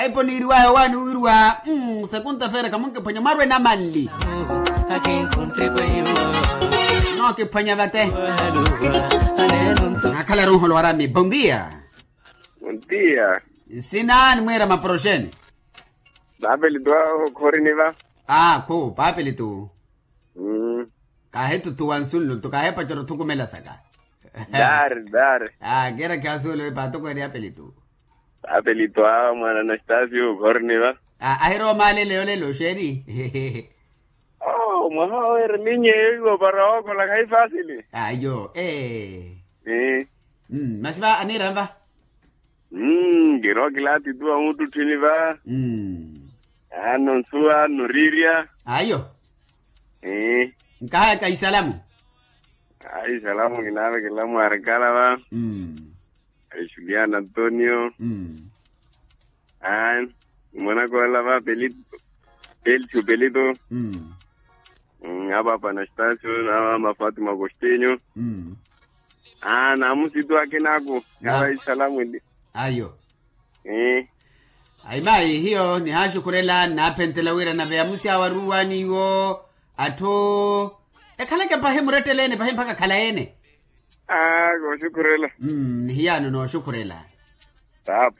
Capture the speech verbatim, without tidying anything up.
Aipo niiriwaya owaani wiiriwa. Sekunta feera kamunkiphwanya mwarwe namanli. Nookiphwanya vate. Nakhalaru nholo warami bondia. Bondia. Nsina nimwiira maporoxeni. Papelitu awo khoriniva. Akhu papelitu. Kaahitutuwa nsunlu nto kaahipacerya othukumela saka. Dari dari. Kiira khiyasuwela wi paatokweene apelitu. Apelitu awo mwaana anastasio khoriniva. Ahirowa omaalele yolelo xeeni? Mwaha oweera minnyeyo iwo para wookola khayi fasili. Ayo ee. Masi va aniira nva. Mmm kirowa kilaati tu wa muttutthini va. Aano nsuwa aano riirya. Ayo. Nkahaya kaisalamu. Aisalamu kinaavekela mwarikala va. Aixuliana antonio. Mwanakoola va pelito. Pelito. Apaapa anastasio na mama fatima agostinho. Naamusitu akinaaku. Kava isalamu. Ayo. Ayi mayi hiyo nihaaxukhurela nnaaphentela wira nave amusi awo aruuwani iwo. Atthu ekhaleke pahi muretteleene pahi mpakha akhalayeene. Kooxukhurela. Nihiyaano nooxukhurela. Taapa.